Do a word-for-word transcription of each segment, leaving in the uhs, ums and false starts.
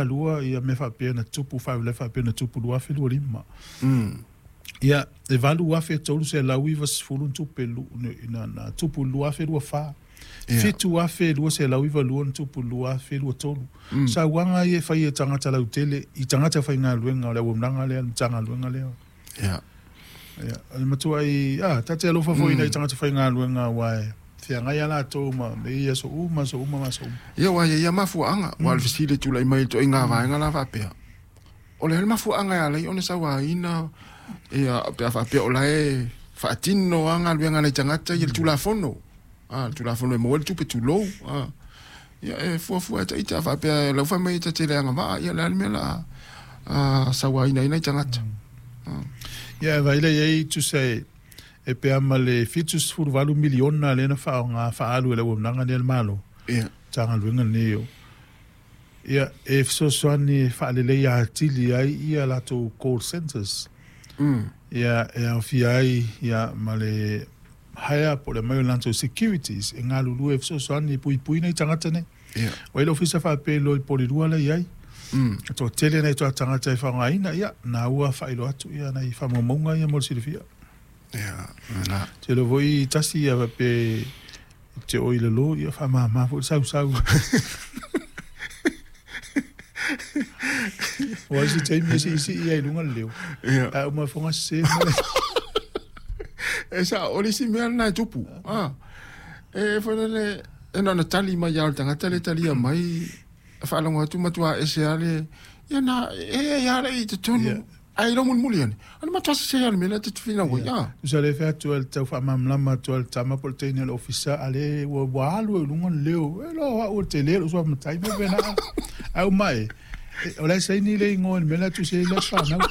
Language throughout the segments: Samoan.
Lua ia mea faapea na tupu, faalavelave faapea na tupu lua afe lua lima. Mm. Ia, e valu afe tolu selau iva sefulu na tupe lu, na, na tupu lua afe lua fa. Ia. Fitu afe lua selau iva lua na tupu lua afe lua tolu. Mm. Sauaga ia e fai e tagata lautele i tagata faigaluega o le auaunaga lea, le Matagaluega lea. Ia. Ia, o le matuai, a, ta te alofa foi i nai tagata faigaluega aua e feagai lava latou ma mea ia i aso uma, aso uma ma aso uma. Ia, aua e i ai lava mafuaaga, aua o le fesili e tulai mai i le ituaiga vaega la faapea, o le a le mafuaaga e ala ai ona sauaina, ia, pe a faapea o la e faatino lava galuega a nai tagata ia le Tulafono, a, le Tulafono e maua ai le tupe tulou, a. Ia, e fuafua e ita a faapea o lau fai mai e ta te le agavaa, ia o le a le mea o le a sauaina ai nai tagata. Ia, e vaai la i ai, tusa e, e pea ma le fitu sefulu valu miliona lea na faaaoga faaalu e le auaunaga lea a le Malo. Ia. Matagaluega lenei o. Ia, e fesoasoani e faaleleia atili ai ia latou call centers. Mm. Ia, e aofia ai ia ma le hire po o le aumai o latou securities e galulue e fesoasoani e puipui nai tagata nei. Ia. Ua i ai le ofisa faapea i Polilua la i ai. Mm. E toatele nai toa tagata e faaaogaina, ia, na ua faailoa atu ia nai faamaumauga ia mo le silafia. Ia, la. Tele foi tasi ia faapea te o i lalo, ia faamama foi le sausau. Ua isi taimi e siisii ai i luga le leo. Ia. A uma foga sese mai. E sao, o le isi mea lena e tupu. Ah. E foi lele, e na ona tali mai lava o le tagata lea e talia mai, faalogo atu matua ese lava le, ia na, e e lava le i totonu. Ia. Ae iloa mulimuli ane, o le matua sese lava o le mea lea ta te finau ai. Ah. Tusa le fai atu ai le tau faamalamalama atu ai le tama po o le teine o le ofisa, a le ua, ua alu ai i luga le leo. E loa o au o le tele o lou suamatai, me pena. A uma e, e, o la e saini le igoa i le mea la e tusi ai le aso fanau.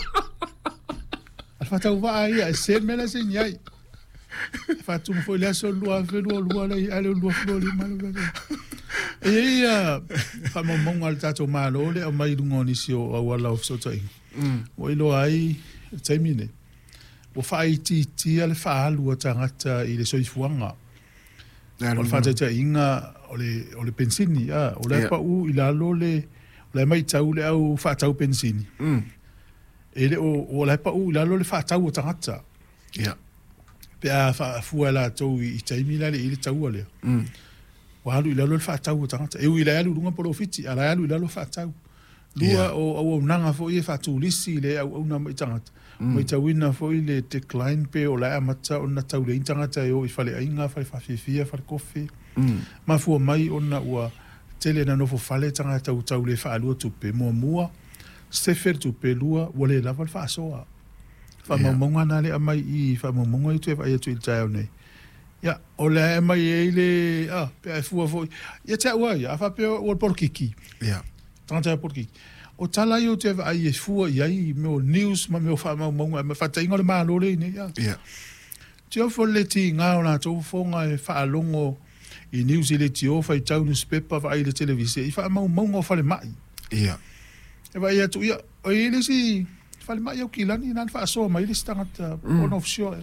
A le faatauvaa ia, e sese le mea la e saini ai. E faatumu foi le aso lua afe lua lua le ai, a le lua afe lua lima le lua. E i ai ia faamaumauga a le tatou Malo le aumai i luga o nisi o auala o fesootaiga. Mm. Ua iloa ai le taimi nei, ua faaitiitia le faaalu a tagata i le soifuaga. O le faataitaiga o le, o le penisini, a, o la e Ia. pau i lalo le, o la e matau le au faatau penisini. Mm. E le o, o la e pau i lalo le faatau a tagata. Ia. Pe a faafua e latou i, i taimi la le i le taua lea. Mm. Ua alu i lalo le faatau a tagata. E ui la e alu i luga polofiti, a la e alu i lalo faatau. Lua Ia. o auaunaga foi e faatulisi le auauna mai tagata. Mm. Matauina foi le decline pe o la e amata ona tauleai tagata e o i faleaiga, fale faafiafia, fale kofe. Mm. Mafua mai ona ua tele na nofo fale tagata ua tau le faalua tupe. Muamua, sefe le tupe, lua, ua le lava le faasoa. Faamaumauga na le aumai i faamaumauga ia toe vaai atu i le taeao nei. Ia, o le a aumai ai le, a, pe a e fua foi. Ia te au lava ia, a faapea ua le polokiki. Ia. Tagata e polokiki. O tala ia ou te vaai e fua i ai i mea o news ma mea o faamaumauga, ma faataiga o le Malo lea i nei. A. Ia. Tio foi le tiga o latou fofoga e faalogo i news i leitio, faitau newspaper, vaai i le televise, i faamaumauga o falemai. Ia. E vaai atu, ia, o i ai le isi falemai Aukilani, na na faasoa mai le isi tagata Mm. ona ofisio.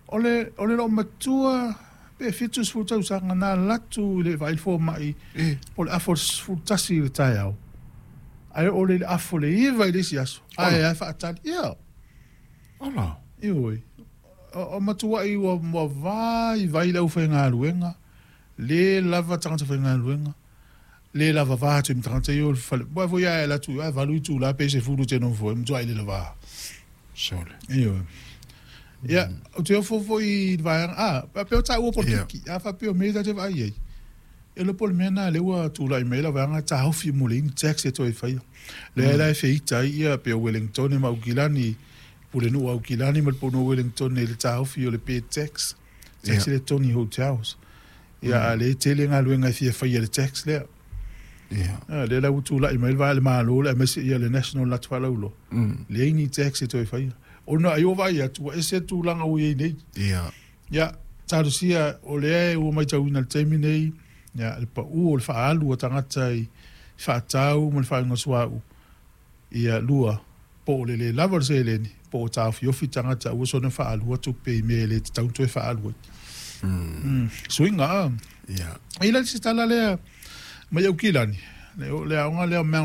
O le, o le loomatua pe fitu sefulu tausaga na alu atu i le vaai le fomai E. po o le afa o le sefulu tasi i le taeao. Ae oo lea i le afa o le iva i le isi aso. Ae ae faatali. Ia, Ala. ioe. O, o matuai ua, ua vaivai le aufaigaluega, le lava tagata faigaluega, le lava va atu i ma tagata ia o le fale. Ua foi ae alu atu, ae valu itula pe sefulu te nofo ai, matuai le lava. Sole. Ioe. Ia, ou te ofo foi i le vaega, a, faapea o taua polokiki, a faapea o mea ia ta te vaai ai. E iloa po o le mea lena lea ua tulai mai ai la vaega taofi mo le ini tax e toe faia. Lea la e feita ai ia pe o Wellington ma Aukilani, Pulenuu o Aukilani ma le Pulenuu o Wellington i le taofi o le bed tax, tax Ia. le togi hotels. Ia, a lea e tele galuega e fia faia i le tax lea. Ia. A, lea la ua tulai mai le vaega a le Malo le aemaise ia le National latou faalauiloa. Mm. Leai ni tax e toe faia. Ona ai o vaai atu, ua ese tulaga ua i ai nei. Ia. Ia, talosia o lea ua matauina i le taimi nei, ia, le pau o le faaalu a tagata i faatau ma le faaiuga suauu. Ia, lua, po o le le lava o le seleni, po o taofiofi tagata aua soona faalua tupe i mea e le tatau ona toe faalu ai. Mm. Mm. Suiga, a. Ia. E i ai la le isi tala lea mai Aukilani, le, le aoga lea o Mount